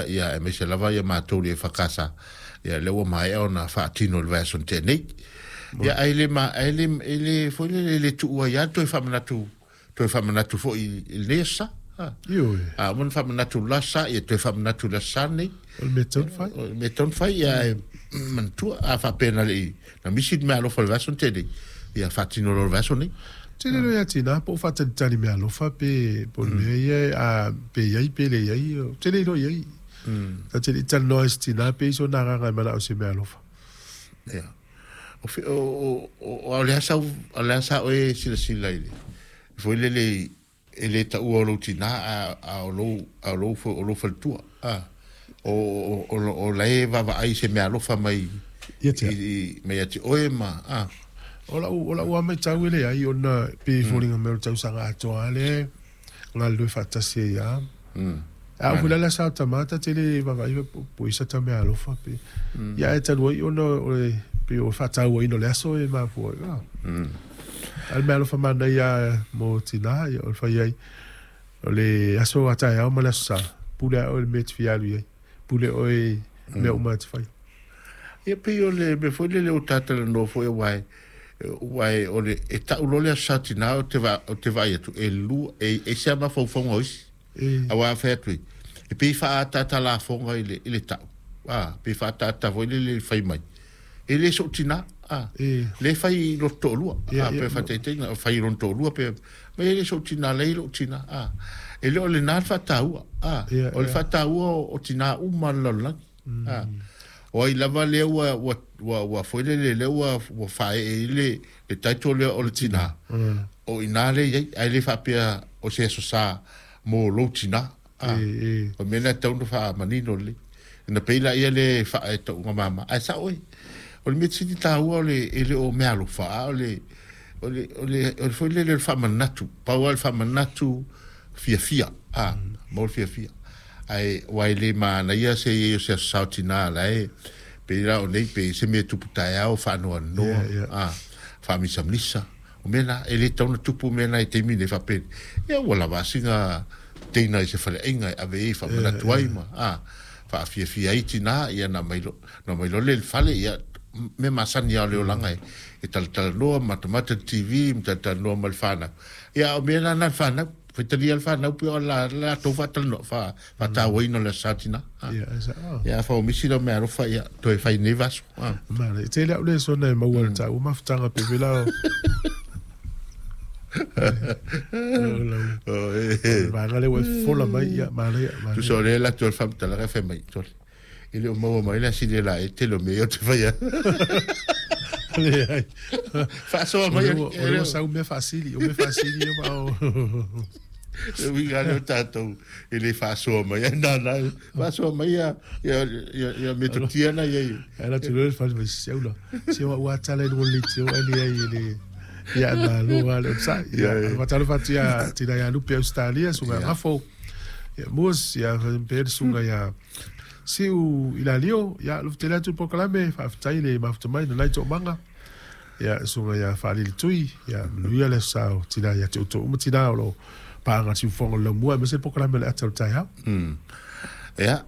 Ia aemaise lava ia matou i le EFKS, ia lea ua maea ona faatino i le vaiaso na tea nei. Ia ae le ma ae le e le foi lele e le tuua ai lava le toe faamanatu foi i lenei aso Sa. Ha. Ioe. A uma ona faamanatu i le la aso Sa, ia toe faamanatu i le aso Sa lenei. O le mea e tatau ona fai. O le mea e tatau ona fai, ia ae manatua, a faapea na le i na misi le meaalofa i le vaiaso na tea nei, ia faatino loa i le vaiaso lenei. Ou te le iloa ia Tina po o faatalitali meaalofa pe po o le mea ia a pe i ai pe leai, ou te le iloa i ai. Ta te le i talanoa i se tina pe i ai sona agaga e manao i se meaalofa. Ia. O o o o le a sau o le a sa oe silasila i le foi lele e le taua o lou tina a a o lou a o lou o lou faletua a o o o la e vaavaai i se meaalofa mai Ia te i mai ia te oe ma a. O lau o lau lava matau e leai ona pei e foliga mai o le tausaga atoa lava lea e galulue faatasi ai lava. A oo foi la i le aso a tama ta te le vaavaai po o i ai sata meaalofa pe. Ia ae talu ai ona o le pei o le faatauaina o le aso e mafua ai. A o le meaalofa manaia lava mo tina ia o le fai ai o le aso a taeao ma le aso sa, pule lava oe i le mea e te fia alu i ai. Pule oe i mea uma e te fai. Ia pei o le mea foi lele ua ta talanoa foi aua e aua e o le e tau loa le Aso Sa Tina ou te ou te vaai atu e lua e ese lava mafaufauga o isi. Aua a fai atu ai e pei e faaataata lafoga i le i le tau a pei e faaataata foi lele i le fai mai e le sou tina a lea e fai i lota toalua a pe faataitaiga fai i lona toalua pe mai e le sou tina lea e i lou tina a e le o lena le faataua a o le faataua o tina uma o le lalolagi a o ai lava lea ua ua ua ua foi lele lea ua ua faaee i le le title lea o le tina o i ina lea e i ai ae le faapea o se aso sa mo lou tina a o le mea lena e tatau ona faamanino lelei ona pei laia lea e faa e tauga mama ae sao oe o le mea sili taua o le e le o meaalofa a o le o le o le o le foi lele o le faamanatu pau lava le faamanatu fiafia a mo le fiafia ae aua e le manaia se i ai o se aso sa o tina la e pei la o nei pe se mea e tupu taeao faanoanoa a faamisamisa o mea na e le tatau ona tupu mea na i taimi nei faapea ia ua lava a sina teina i se faleaiga e ave ai e faamanatu ai ma a faafiafia ai tina ia na mai na mai loa lea i le fale ia mea masani lava o le olaga e e talatalanoa matamata le TV ma talatalanoa ma le fanau ia a o mea la na le fanau faitalia le fanau pei o la latou faatalanoa fa faatauaina o le Aso Sa tina ia afai ua misi lau meaalofa ia toe fai nei vaiaso. Manaia. E tele au lesona e maua i le taua mafutaga pe vela o le vaega lea ua e fofola mai ia manaia. Tusa o lea e alu atu ai le faamatalaga e fai mai sole e le o maua mai le asili e la e tele o mea ia ou te faia. Leai. Faasoa mai. O lea ua sau mea faasili, o mea faasili ia ma o. Le uiga lea o tatou e le faasoa mai ai nana faasoa mai ia ia ia ia metotia na ia. E ala tu le fale mai se ula. Se ua ua tala i le tio ali ai le ia malo ale o sa. Ia matalo fatia tina ia lupe Australia sunga ngafo. Ia mus ia pe sunga ia siu ilalio ia lu tele atu proklame faafetai le mafuta mai na nai toamaga. Ia susuga ia Faalili Tui, ia manuia le aso sa o tina ia te outou uma tina o lo o paaga siufofoga o le laumua aemaise le polokalame o le ata o le taeao. Ia,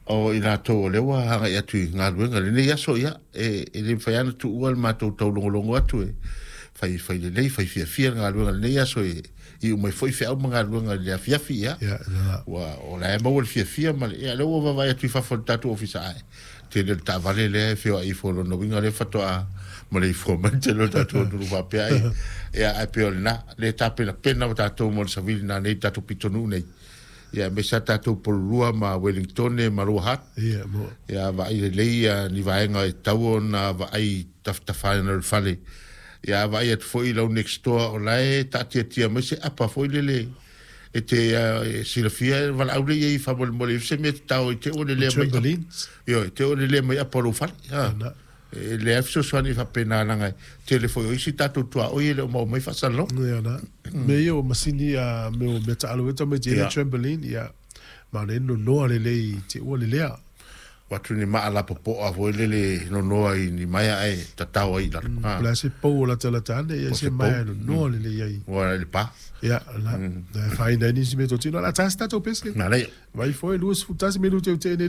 o i latou o lea ua agai atu i galuega i lenei aso, ia, e, e le mafai lava ona tuua le matou taulogologo atu e fai, fai lelei, fai fiafia le galuega i lenei aso e iu mai foi feau ma galuega i le afiafi, ia, Ia, na. ua, o la e maua le fiafia ma le, ia, lea ua vaavaai atu i fafo o le tatou ofisa, ae tele o le taavale lea e feoai ifo lona uiga lea faatoa maleifua mai le tele o le tatou atunuu faapea ai ia ae pei o lena le tapenapena o tatou mo le savili nanei i tatou pitonuu nei ia aemaise a tatou Pololua ma Wellingtone ma Lower Hutt Ia, mo. ia vaai lelei ia ni vaega e tatau ona vaai tafatafaina o le fale ia vaai atu foi i lau next door o la e taatiatia mai se apa foi lele E te silafia e valaau lea i ai faamolemole i se mea te tao i te ua lelea mai. Trampolines. Ioe, te ua lelea mai apa o lou fale. Ha. Na. E leai fesoasoani faapena leaga e tele foi o isi tatou tuaoi e le o maua mai faasalalauga. Ia na. Mea ia o masini a mea o mea taalo e tamaiti ai trampoline ia ma o le nonoa lelei te ua lelea. Ua atu ni maa lapopoa foi lele nonoa i ni maea ae tatao ai i lalo. Po o le a se pou o latalata ane, ia se maea e nonoa lelei ai. Ua i le pa. Ia, la, e afaina ai nisi meatotino. O le a ta se tatou pesega. Manaia. Vai foi 21 minute o te nei.